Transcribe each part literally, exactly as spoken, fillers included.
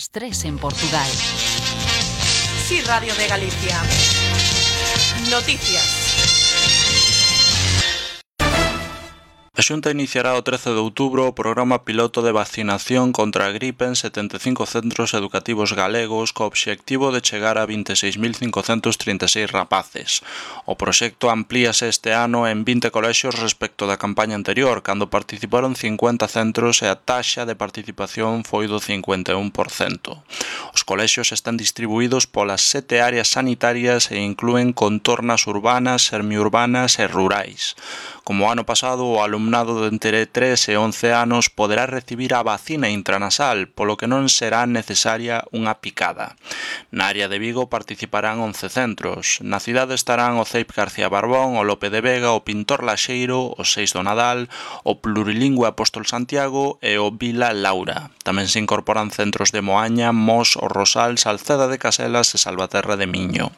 las tres en Portugal. Sí, Radio de Galicia. Noticias. A Xunta iniciará o trece de outubro o programa piloto de vacinación contra a gripe en setenta e cinco centros educativos galegos co obxectivo de chegar a vinte e seis mil cincocentos trinta e seis rapaces. O proxecto amplíase este ano en vinte colexios respecto da campaña anterior, cando participaron cincuenta centros e a taxa de participación foi do cincuenta e un por cento. Os colexios están distribuídos polas sete áreas sanitarias e inclúen contornas urbanas, semiurbanas e rurais. Como o ano pasado, o alumnado de entre tres e once anos poderá recibir a vacina intranasal, polo que non será necesaria unha picada. Na área de Vigo participarán once centros. Na cidade estarán o C E I P García Barbón, o Lope de Vega, o Pintor Laxeiro, o Seis do Nadal, o Plurilingüe Apóstol Santiago e o Vila Laura. Tamén se incorporan centros de Moaña, Mos, o Rosal, Salceda de Caselas e Salvaterra de Miño.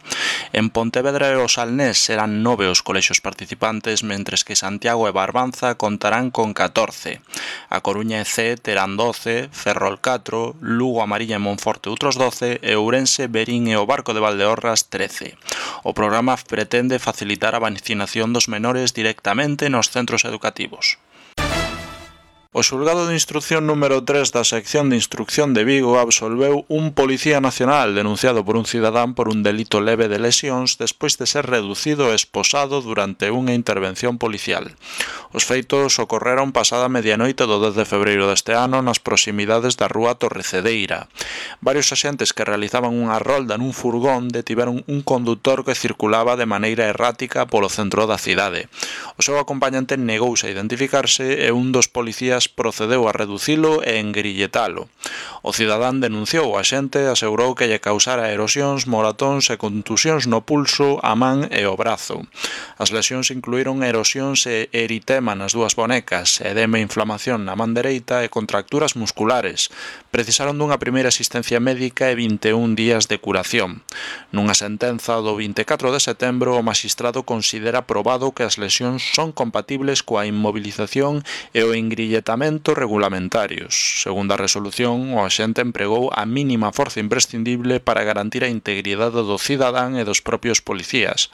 En Pontevedra e o Salnés serán nove os colexios participantes, mentres que Santiago e Barbanza contarán con catorce. A Coruña e Cee terán doce, Ferrol catro, Lugo, Amarilla e Monforte outros doce e Ourense, Verín e o Barco de Valdeorras trece. O programa pretende facilitar a vacinación dos menores directamente nos centros educativos. O xulgado de instrucción número tres da sección de instrucción de Vigo absolveu un policía nacional denunciado por un cidadán por un delito leve de lesións despois de ser reducido e esposado durante unha intervención policial. Os feitos ocorreron pasada medianoite do dez de febreiro deste ano nas proximidades da rúa Torrecedeira. Varios axentes que realizaban unha rolda nun furgón detiveron un condutor que circulaba de maneira errática polo centro da cidade. O seu acompañante negouse a identificarse e un dos policías procedeu a reducilo e engrilletalo. O cidadán denunciou o axente e asegurou que lle causara erosións, moratóns e contusións no pulso, a man e o brazo. As lesións incluíron erosións e eritema nas dúas bonecas, edema e inflamación na man dereita e contracturas musculares. Precisaron dunha primeira asistencia médica e vinte e un días de curación. Nunha sentenza do vinte e catro de setembro, o magistrado considera probado que as lesións son compatibles coa inmovilización e o engrilletamiento regulamentarios. Segundo a resolución, o axente empregou a mínima forza imprescindible para garantir a integridade do cidadán e dos propios policías.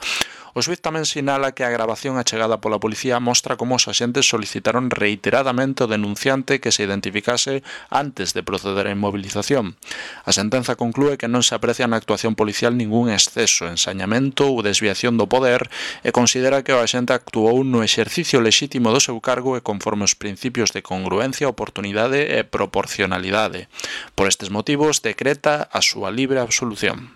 O xuíz tamén sinala que a gravación achegada pola policía mostra como os axentes solicitaron reiteradamente ao denunciante que se identificase antes de proceder á inmovilización. A sentenza conclúe que non se aprecia na actuación policial ningún exceso, ensañamento ou desviación do poder e considera que o axente actuou no exercicio lexítimo do seu cargo e conforme os principios de congruencia, oportunidade e proporcionalidade. Por estes motivos, decreta a súa libre absolución.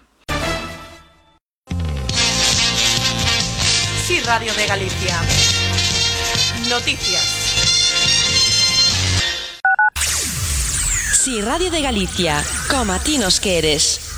Sí, Radio de Galicia. Noticias. Sí, Radio de Galicia. Como a ti nos queres.